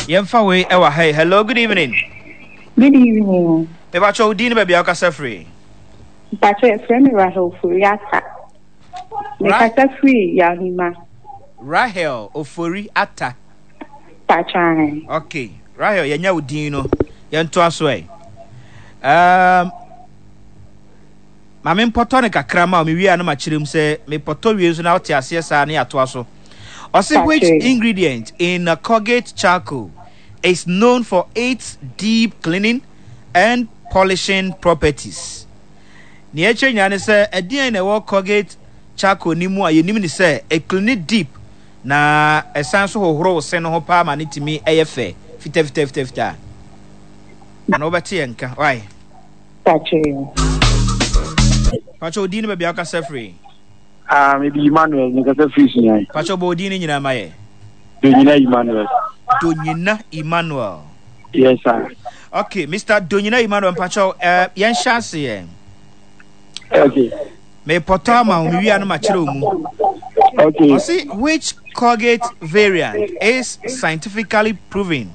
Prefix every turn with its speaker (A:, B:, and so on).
A: Yɛmfa wei ɛwɔ ha yi. Hello, good evening.
B: Good evening.
A: Mepakyɛ wo din ne baabi a wokasa firi.
B: Mpakyɛ yɛfrɛ me Rahel Ofori Atta. Mekasa firi Yawhima.
A: Rahel Ofori Atta.
B: Mpakyɛ.
A: Okay, Rahel yɛnya wo din no. Yɛntoa so ɛ. Um, Ma mempɔtɔ no kakra ma wo, mewie a na makyerɛ mu sɛ mepɔtɔ wie nso na wote aseɛ saa ne yɛatoa so. Ɔse which ingredient in a Colgate charcoal is known for its deep cleaning and polishing properties? Nea ɛkyerɛ nyinaa ne sɛ ɛdeɛn na ɛwɔ Colgate charcoal no mu a yɛnim ne sɛ ɛcleani deep na ɛsan so hohoro wo se no ho paa ma no tumi ɛyɛ fɛ fitafitafitafita. Ana wobɛte yɛn nka why?
B: Pakyɛ.
A: Pakyɛ odin ne baabi a wokasa firi.
C: Ah, me di Emmanuel, me kasa firi Sunyani.
A: Pakyɛ bɔ odin ne nyinaa ma yɛ.
C: Donyina Emmanuel.
A: Donyina Emmanuel.
C: Yes, sir.
A: Okay, Mr. Donyina Emmanuel, mpakyɛ uh, eh, yɛn hyɛ ase yɛn.
C: Okay.
A: Mepɔtɔ ama wo, mewie a no makyerɛ wo mu.
C: Okay.
A: Ɔse, which Colgate variant is scientifically proven?